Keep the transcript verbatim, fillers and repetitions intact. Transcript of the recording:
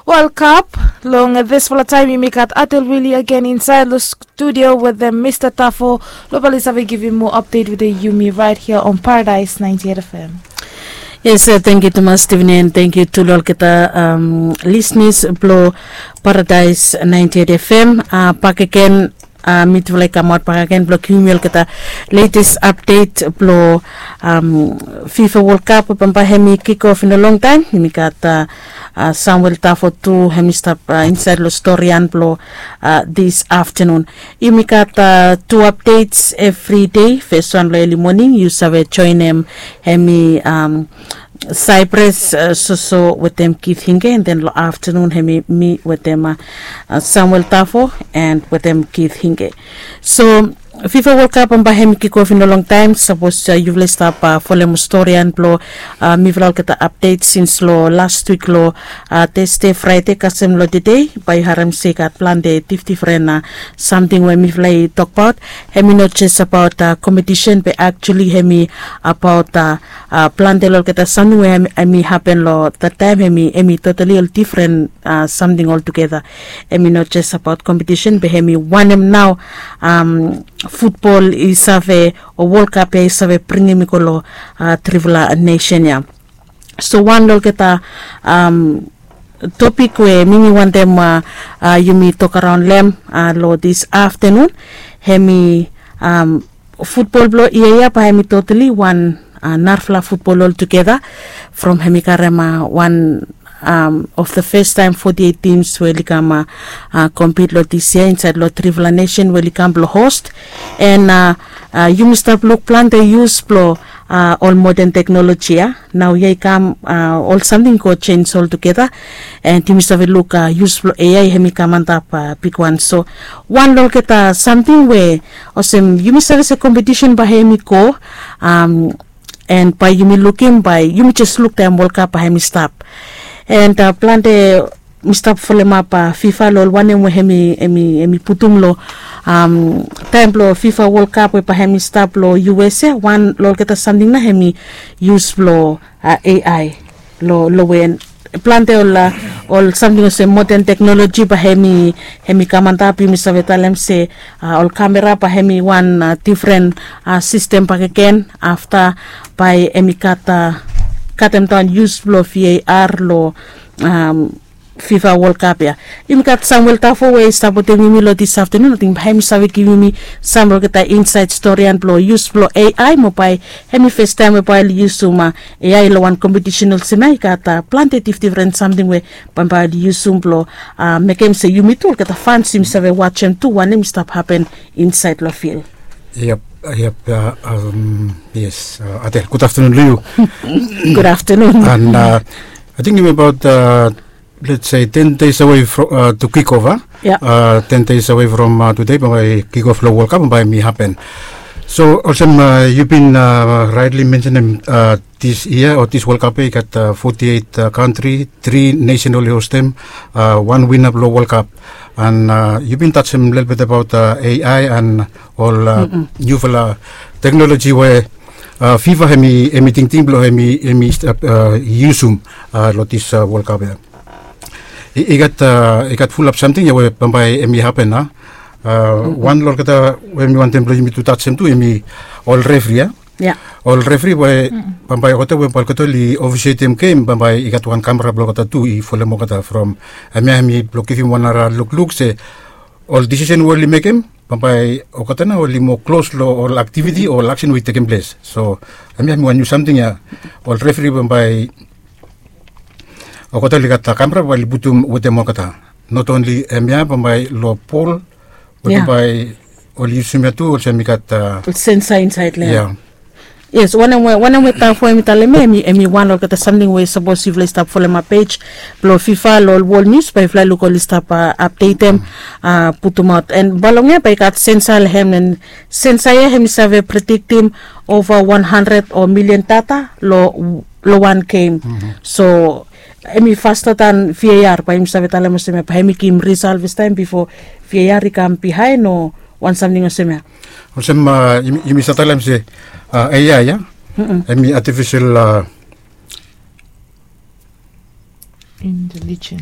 Welkam. Long disfala taem yumi gat Adel Willie agen insaed long studio wetem Mista Tafo. Long bae oli save givim moa apdet wetem yumi raet hia on Paradise ninety eight F M. Yes, tangkiu tumas Steven, and tangkiu tu long olgeta lisnis blong Paradise ninety eight F M. Bakegen mitufala i kamaot bakegen blong givim yumi olgeta letes apdet blong FIFA World Cup we bambae hemi kikof in a long taem. Yumi gat Samuel Tafo tu, hemi stap insaed long storian blong disaftanun. Yumi gat tu apdets evri dei. Fes wan long eli moning yu save joenem hemi Cyprus Soso wetem Keith Hinge, and then long aftanun hemi mi wetem Samuel Tafo and wetem Keith Hinge. So FIFA World Cup bambae hemi kikof in a long taem. Sapos yufala i stap folem storian blong mifala olgeta apdet sins long las wik long Tesde, Fraede kasem long tede, bae yu harem se i gat plante difdifren samting we mifala i tokbaot. Hemi no jes abaot kompetisen be aktuali hemi abaot plante long olgeta samting we hemi hapen long that taem. Hemi totali ol difren samting oltugeta. Hemi no jes abaot kompetisen be hemi wanem nao futbol i save o World Cup ya i save bringim i go long trifala nesen ya. So wan long olgeta topik we mi mi wantem yumi tokaraon long hem long disaftanun, hemi futbol blong yia ya bae hemi totali wan narafala futbol oltugeta. From hemi karem wan of the fes taem foti eit tims we oli kam kompit long dis yia insaed long trifala nesen we oli kam blong host. And yumi stap luk plante yus blong ol moden teknoloji ya. Nao yia i kam ol samting i go jenis oltugeta. And yumi save luk yus blong A I hemi kam antap bigwan. So wan long olgeta samting we olsem yumi save se kompetisen bae hemi go and bae yumi lukim bae yumi jes luk taem World Cup bae hemi stap. And plante mi stap folemap FIFA long ol wanem we hemi putum long taem blong FIFA World Cup we bae hemi stap long U S A. Wan long olgeta samting nao hemi yus blong A I long we plante ol ol samting olsem moden teknoloji bae hemi hemi kam antap. Yumi save talem se ol kamera bae hemi wan difren sistem bakegen. Afta bae hemi gat katemdaon yus blong V A R long FIFA World Cup ya. Yumi gat Samuel Tafo we i stap wetem yumi long disaftanun. Ating bae hemi save givim yumi sam long olgeta insaed storian blong yus blong A I mo bae hemi fes taem we bae oli yusum A I long wan kompetisen olsem ya. I gat plante difdifren samting we bambae oli yusum blong mekem se yumi tu olgeta fans yumi save wajem tu wanem i stap hapen insaed long fil. Yep, yep. Yes, Adel, gudaftanun long yu. Gudaftanun. And ating yumi abaot let's say ten days away to kick off. Ten days away from tede bae kick off long World Cup bae hemi hapen. So olsem yu bin raetli mensenem, dis yia o dis World Cup ya i gat foti eit kantri, tri nesen oli hostem wan wina blong World Cup. And yu bin tajem lelebet abaot A I and ol niufala teknoloji we FIFA hemi tingting blong hemi yusum long dis World Cup ya. I gat i gat fulap samting ya we bambae hemi hapen a. Wan long olgeta we mi wantem blong yumi tu tajem tu hemi ol refri ya. Ol refri we bambae olgeta we bae olgeta oli ofisietem gem bambae i gat wan kamera blong olgeta tu i folem olgeta from hemia hemi blong givim wan nara lukluk se ol disisen we oli mekem bambae olgeta nao oli moa klos long ol aktiviti o ol aksen we i tekem ples. So hemia hemi wan niu samting ya. Ol refri bambae olgeta oli gat kamera bae oli putum wetem olgeta. Not only hemia bambae long pol we bambae oli yusum ya tu olsem i gat sensa insaed long hem. Yes, wanem we wanem we Tafo hemi talem ya hemi wan long olgeta samting we sapos yufala i stap folemap pej blong FIFA long ol wol nius bae yufala i luk oli stap apdetem putumaot. And bae long ya bae i gat sensa long hem and sensa ya hemi save prediktim ova wan handred o milian data long long wan gem. So hemi fasta dan V A R bae yumi save talem olsem ya bae hemi givim risal fastaem bifo V A R i kam bihaen o wan samting olsem ya. Olsem yumi save talem se A I ya hemi artificial intelijens.